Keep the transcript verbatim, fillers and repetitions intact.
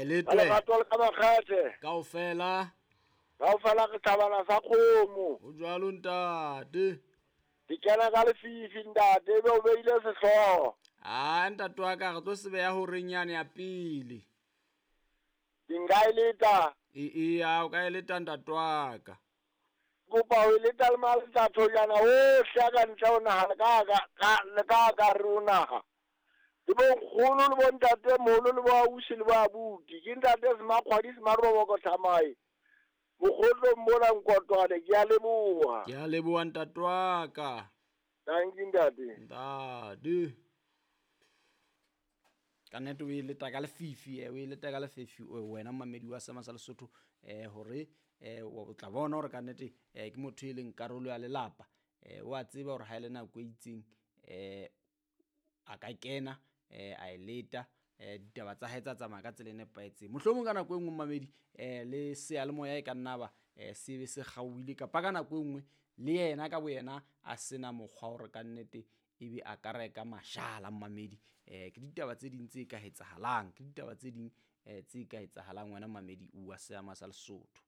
A e Ka letwe. lerato le ka makgethe. Kaofela. Kaofela re thabana sa kgomo. Ho jwalo ntate. Ke kena ka lefifi ntate, ebe o beile sehlooho. A ntate wa ka re tlo se beha horeng yane ya pele. Ke nka e leta. E eya o ka e leta ntate wa ka. Kopa ho e leta le maletathonyana ohle a ka ntle ho naha le ka ka ka le ka ka hare ho naha. Le bo nkgono le bo ntate moholo le bo ausi le bo abuti. Ke ntate Semakgwadi Semaroboko Thamae. Mokgotlong mona Nkotwane, ke a leboha. Ke a leboha ntate wa ka. Thank you ntate. Ntate. Ka nnete o e leta ka lefifi, eh, o e leta ka lefifi wena momamedi wa Seema sa Lesotho, eh hore eh o tla bona hore ka nnete eh ke motho e leng karolo ya lelapa. Eh o a tseba hore ha ele nako e itseng eh a ka kena eh a e leta eh ditaba tsa hae tsa tsamaya ka tsela e nepahetseng. Mohlomong ka nako e nngwe momamedi eh le seyalemoya e ka nna ba eh se be se kgaohile kapa ka nako e nngwe le yena ka boyena a sena mokgwa hore ka nnete ebe a ka reka mashala momamedi. Eh ke ditaba tse ding tse ka etsahalang, ke ditaba tse ding eh tse ka etsahalang wena momamedi wa Seema sa Lesotho.